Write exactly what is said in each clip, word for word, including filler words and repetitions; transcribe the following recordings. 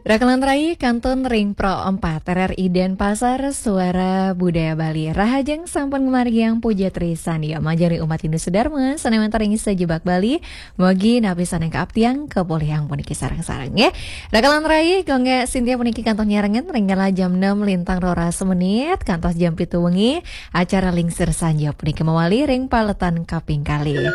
Rakelan rai kantun ring Pro empat R R I Denpasar, Suara Budaya Bali. Rahajeng sampun ngamargiang puja trisandia majeng ring umat Hindu sedharma, sané wénten ring sajebag Bali, mugi napi sané kaaptiang kapolihang puniki sareng-sareng, nggih. Rakelan rai, Gung Gék Sintia puniki kantun nyarengin ring galah jam enam lintang roras menit, kantos jam pitu wengi, acara Lingsir Sanja puniki mawali ring paletan kaping kalih.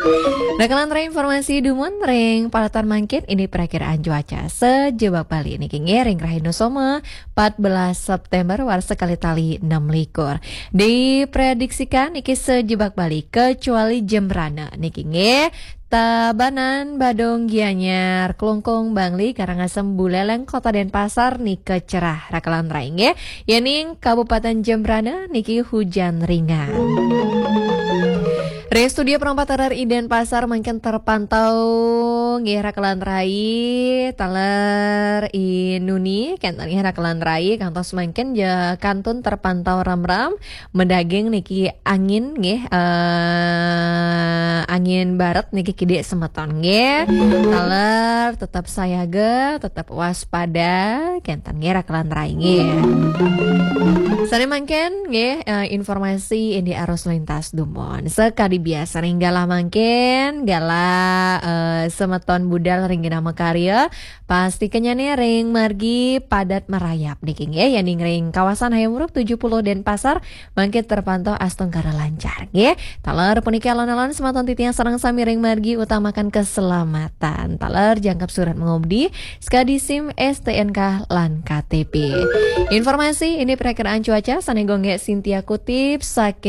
Rakelan rai, informasi dumun ring paletan mangkin, indik prakiraan cuaca sajebag Bali niki nggih ring rahina Soma, empat belas September, warsa kalih tali enam likur. Diprediksikan niki sajebag Bali kecuali Jembrana niki nggih. Tabanan, Badung, Gianyar, Klungkung, Bangli, Karangasem, Buleleng, Kota Denpasar nika cerah rakelan rai nggih. Yéning Kabupaten Jembrana niki hujan ringan. Ring studio Pro empat R R I Denpasar mangkin terpantau nggih rakelan rai, taler I Nuni, kénten nggih rakelan rai, kantos mangkin ja kantun terpantau ramram, madaging niki angin nggih, eh, angin barat niki kidik semeton nggih. Taler tetep sayaga, tetep waspada, kénten nggih rakelan rai nggih. Sané mangkin nggih, eh, informasi indik arus lintas dumun. Sakadi biasa ring galah mangkin, galah, eh, semeton budal ring genah makarya, pasti kenyané ring margi padat merayap niki nggih, yéning ring kawasan Hayam Wuruk tujuh puluh Denpasar, mangkin terpantau astungkara lancar nggih. Taler puniki alon-alon semeton titiang sareng sami ring margi utamakan keselamatan. Taler jangkep surat mengemudi, sakadi SIM, STNK, lan KTP. Informasi indik prakiraan cuaca sané Gung Gék Sintia kutip saking